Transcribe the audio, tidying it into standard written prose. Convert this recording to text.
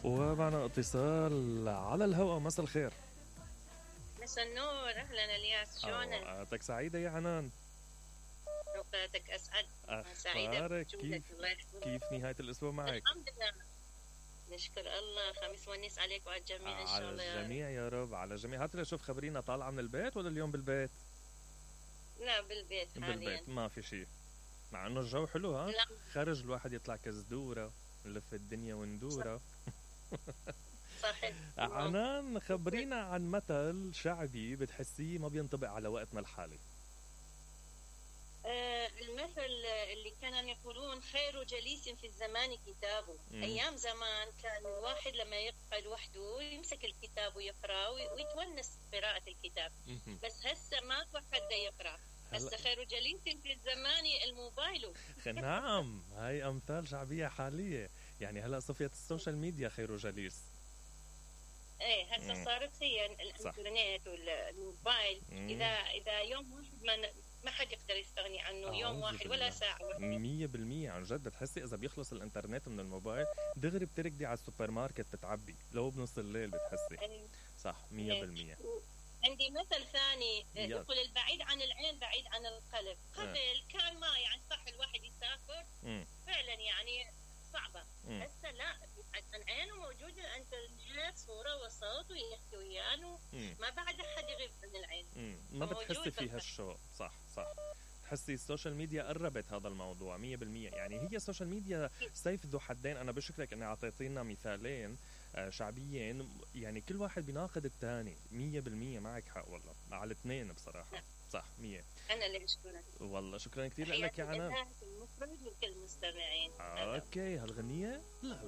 ومعنا اتصال على الهواء. مساء الخير. مساء النور، اهلا الياس، شلونك؟ اوقاتك سعيدة يا عنان. اوقاتك اسعد. اخبارك كيف نهاية الاسبوع معك؟ الحمد لله، نشكر الله. خميس ونيس عليك وعلى الجميع ان شاء الله. على الجميع يا رب، على الجميع. هات شوف، خبرينا، طالعة من البيت ولا اليوم بالبيت؟ لا بالبيت حاليا. بالبيت ما في شيء، مع انه الجو حلو. ها لا. خرج الواحد يطلع كزدورة، نلف الدنيا وندورة. صحيح. عنان، خبرينا عن مثل شعبي بتحسيه ما بينطبق على وقتنا الحالي. المثل اللي كانوا يقولون خير جليس في الزمان كتابه. ايام زمان كان الواحد لما يقعد وحده يمسك الكتاب ويقرا ويتونس بقراءة الكتاب. بس هسه ما حدا يقرا، هسه خير جليس في الزمان الموبايل. نعم، هاي امثال شعبية حالية. يعني هلا صفيت السوشيال ميديا خير جليس. ايه هسه صارت هي الانترنت والموبايل. اذا يوم واحد ما حد يقدر يستغني عنه. يوم واحد ولا ساعة واحدة. 100% عن جد. بتحسي إذا بيخلص الإنترنت من الموبايل دغري بتركضي على السوبر ماركت تتعبي لو بنص الليل. بتحسي صح 100%. عندي مثل ثاني يقول البعيد عن العين بعيد عن القلب. قبل كان ما يعني صح الواحد يسافر فعلا يعني صعبة. هسه لا، عن عينه موجود الانترنت، صورة وصوت ويحكي ويانا. ما بعد حد يغيب من العين. ما بتحسي فيها الشوق. صح. تحسي السوشيال ميديا قربت هذا الموضوع 100%. يعني هي السوشيال ميديا سيف ذو حدين. أنا بشكرك أني أعطيتينا مثالين شعبيين، يعني كل واحد بيناقض الثاني. 100% معك حق والله على الاثنين بصراحة. صح 100. أنا اللي بشكرك والله. شكرا كثير لك يا عنان. المفرد وكل المستمعين. اوكي، هالغنية لا